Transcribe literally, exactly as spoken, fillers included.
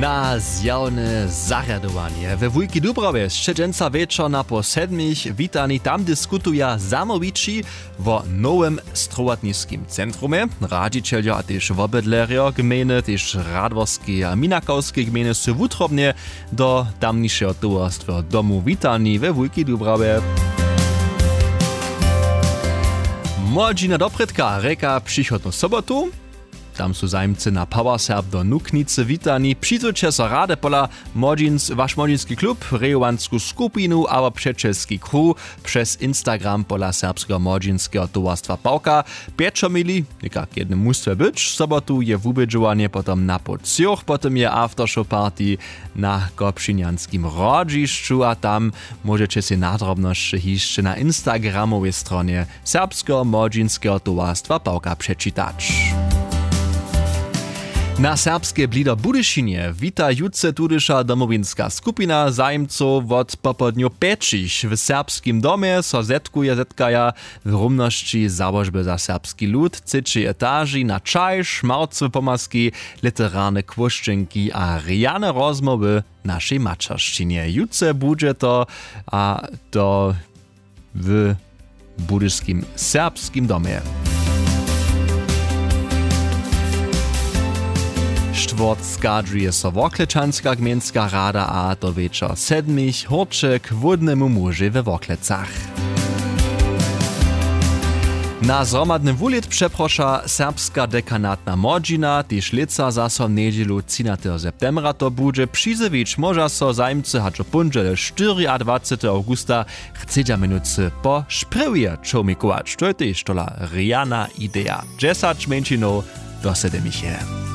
Na zjawne zarjadowanje we wulki dubrawje sće dźensa wječor na po sedmich witani. Tam diskutuja zamołwići wo nowym strowotniskim centrumje. Radźićeljo a tež wobydlerjo gmejny, tež radworskej a minakawskej gmejny su wutrobnje do tamnišeho towarstweho domu witani we wulkej dubrawje. Młodźina doprědka rěka přichodnu sobotu. Tam su zajimcy na powerserb do nuknicy witani. Přizwyće so rady pola młodźins waš młodźinski klub, rejowansku skupinu abo přećelski kruh přez instagram pola serbskeho młodźinskeho towarstwa pawka. Pječomili někak jednym mustwje być sobotu je wubědźowanje potom na poł třoch potom je aftershow party na kopšinjanskim hrodźišću a tam móžeće sej nadrobnosće hišće na instagramowej stronje serbskeho młodźinskeho towarstwa pawka přečitać. Na serbskej blido budyšinje wita jutře tudyša domowinska skupina zajimcow wot popołdnju pjećich w serbskim domje so zetkuje zetkaja w rumnosći załožby za serbski lud třećej etaži na čaj šmarcowe pomazki, literarne kłóšćenki a rjane rozmołwy w našej maćeršćinje jutře budźe to a to w budyšskim serbskim domje. Štwórtk schadźuje so worklečanska gmejnska rada a to wječor sedmich hórće k hłódnemu mužej we worklecach. Na zhromadny wulět přeproša serbska dekanatna młodźina tež lětsa zaso njedźelu třinateho septembra to budźe přizjewić móža so zajimcy hač w póndźele štyriadwaceteho awgusta chcedźa měnujcy po šprjewje čołmikować to je tež tola rjana ideja. Dźesać mjeńšinow do sedemiche.